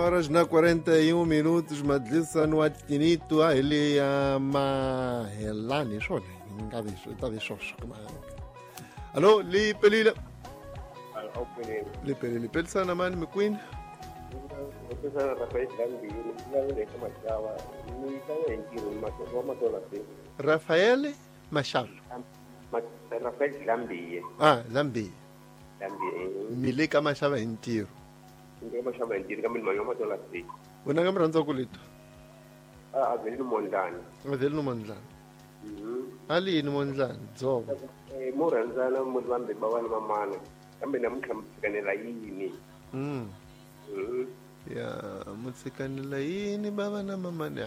Horas na 41 minutos madlisa no atinito a hi ya mahelani hi swona nga vi ta vi swoswo alo li pelile li pelile pelisana mani mikwini Rafael Machado Rafael Lambiye ah Lambiye Lambiye mi le ka maxava hi ntirho ndzi ka maxava hi ntirho kambe ni mali wa matola se wena nga mi rhandza ku leto a a vheli ni mondlani a vheli ni mondlani a li yini mondlani dzovo mo rhandzana mo vambirhi va vana mamana kambe namuntlha mi tshikanela yini ya mutshikanela yini bava na mamani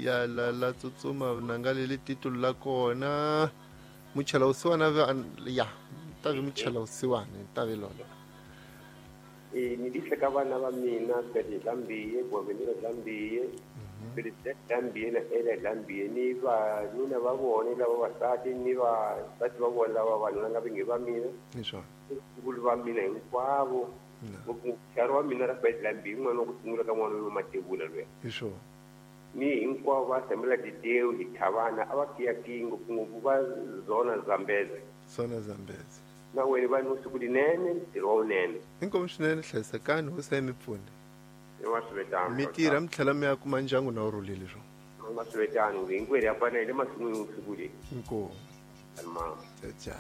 ya la la tsutsuma nanga leli titulu la kona muchela wusiwana ya ta vi muchela wusiwana ta vi lona ni dihle ka vana va mina Fred Dlambiye Boaventura Dlambiye Felicita Dlambiye na Ela Dlambiye ni vanuna va vona lava vasati ni vasati va vona lava vanuna nga vingi va mina ni swona vulu va mina hinkwavo ngopfu wa mina Rafael Dlambiye n'wana wa ku sungula ka n'wana wa Matevula luya hi swona ni hinkwavo va Samuel Dideu hi Thavana a va kiyakiyi ngopfungopfu va zona Zambeze zona Zambeze na wena va ni siku linene ntirho wa wunene inkomu swinene hlayisekani hosi ya mi pfune wa swivetano mi tirha mi tlhela mi ya kuma ndyangu na wu rhulile swona wa swivetano hinkwerhu ya fana hi le masin'wini siku leyi inkomu mama ja